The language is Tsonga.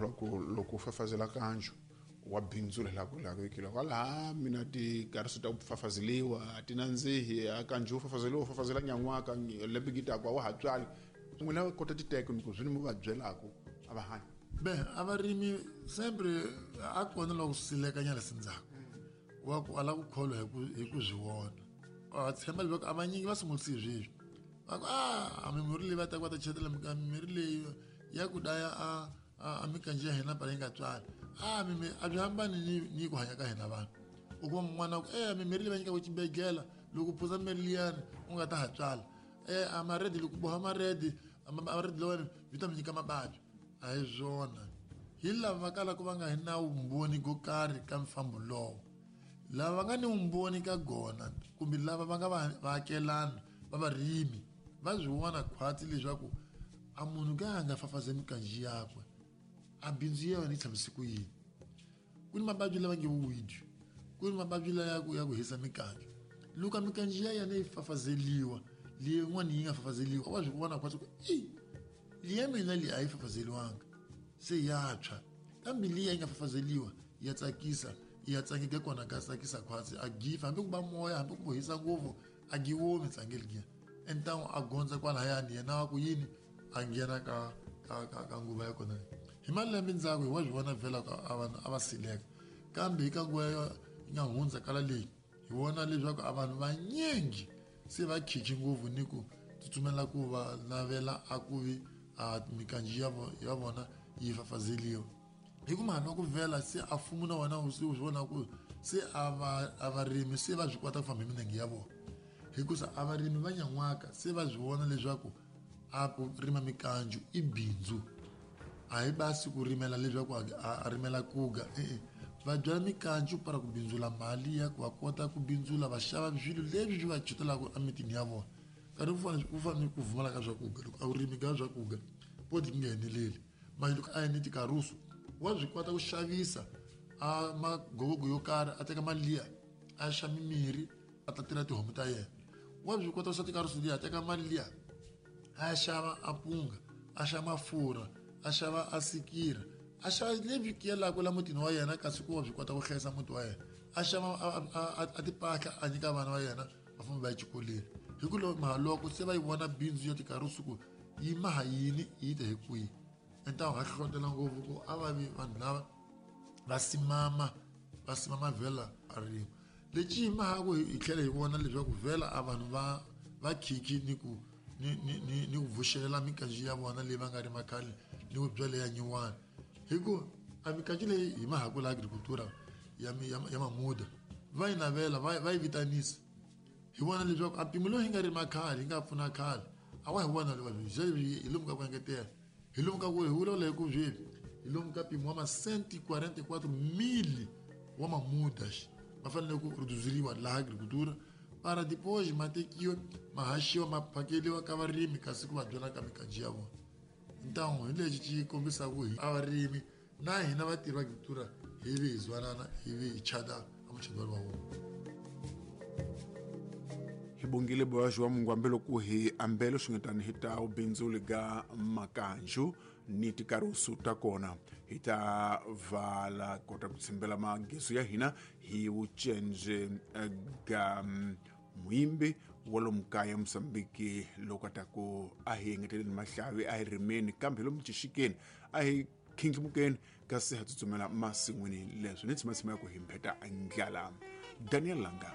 kholwa ku loko u fafazela kanju wa bindzula laha ku laveki loko laha mina tikarisi ta ku fafazeliwa a ti nandzihi a kanju u fafazeliwa u fafazela nyan'waka lembe ngitaku a wa ha tswali n'wina kota titeke ni ku swi ni mi va byelaku a va hanyi. Be a varimi sempre a kona loko silekanyana sindzhaku wa ku ala ku kholwa hi ku swi vona, a tshemba leswaku a vanyingi va sungulisi sweswi va ku a mimirhi leyi va taka va ta chetela mimirhi leyi ya ku daya a mikanji ya hina pala yi nga tswali a mimi a byi hambani ni ku hanya ka hina vanhu. U kuma mun'wana ku mimirhi leyi va nyikaka xibedhlele loko u phuza mirhi liyani u nga ta ha tswala, a maredi loko boha maredi maredi lawani byi ta mi nyika mavabyi. A hi swona, hi lava va kalaka va nga hi na vumbhoni ko karhi ka mfambo lowo, lava va nga ni vumbhoni ka gona kumbe lava va nga vaakelani va varimi va swi vona khwatsi leswaku a munhu ka a nga fafaze mikanji yakwe a bindzu ya yona yi tshamise ku yini. Ku ni mavabyi lava nge weed, ku ni mavabyi la ya ku hisa mikanji, loko mikanji ya yena yi fafazeliwa leyin'wana yi nga fafazeliwa wa swi vona khwatsi ku i liya mina leyi a yi fafazeliwanga se ya tshwa, kambe liya yi nga fafazeliwa ya tsakisa, ya tsangeka kona ka tsakisa khwatsi a gifa hambi ku ba moya hambi ku hisa ngopfu a giwomi tsangeli giya entangu a gondza kwalahayani yena wa ku yini a nghena ka nguva ya kona. Hi malembe ndzhaku hi wa swi vona vhela a vanhu a va sileka, kambe hi ka nguva yi nga hundza kala leyi hi vona leswaku a vanhu vanyingi se va khichi ngopfu ni ku tsutsumela ku va navela a ku vi a mikanji ya vona yi fafazeliwa. Hi ku mhani wa ku vhela se a mfumo na wona se u swi vona ku se a varimi se va swi kota ku famba hi milenge ya vona, hikusa a varimi va nyan'waka se va swi vona leswaku a ku rima mikanju i bindzu, a hi basi ku rimela leswaku a rimela kuga, e-e va byala mikanju para ku bindzula mali ya ku va kota ku bindzula va xava swilo leswi swi va chutelaka emitini ya vona. Nkarhi ku fana ni ku pfumala ka swakudya, loko a wu rimi ka swakudya poti yi nga eneleli mali, loko a yi ni tikarusu wa swi kota ku xavisa a magogogo yo karhi a teka mali liya a xava mimirhi a ta tirha tihomu ta yena, wa swi kota ku xava tikarusu liya a teka mali liya a xava a punga a xava mafurha a xava a sikira a xava lebyi kiyelaka la mutini wa yena, kasi ku wa swi kota ku hlayisa muti wa yena, a xava a tipahla a nyika vana va yena va famba va ya exikolweni. Hi ku loko se va yi vona bindzu ya tikarusu ku yi maha yini yi ta hi kwihi, entangu ha hlohlotela ngopfu ku a va vi vanhu lava va simama vhela a rima lexi yi mahaku hi tlhela hi vona leswaku vhela a vanhu va khikhi ni ku ni ku vuxela mikanji ya vona leyi va nga rima khale ni ku byala ya nyuwani, hi ku a mikanji leyi hi mahaku la agricultura ya mamuda va yi navela va yi vitanisa hi vona leswaku a mpimo lowu hi nga rima khale hi nga pfuna khale a wa hi vona hi lomu ka ku engetela hi lomu ka ku hi vulavula hi ku sweswi hi lomu ka mpimo wa masenti 44,000 wa mamuda va fanele ku rhuduzeriwa laha agricultura para depois ma tekiwa ma haxiwa ma phakeliwa ka varimi kasi ku va byala ka mikanji ya vona. Ntangu hi lexi xi kombisaka hi a varimi na hina vatirhi va agricultura hi vi hi zwanana hi vi hi chata a muchado wa vona. Hi bongile boyaxi wa mungwambe loko hi ambele swingetani hi ta ubindzuli ga makanju ni tikarusu ta kona hi ta vala kota ku tshimbela mageso ya hina hi vucenje ga muimbi wa lomu kaya Mozambique loko a ta ku a hi engeteleni mahlavi a hi rimeni kambe lomu xixikeni a hi khindlimukeni kasi ha tsutsumela masin'wini leswi ni tshimatsima ya ku hi mpheta ndlala. Daniel Langa.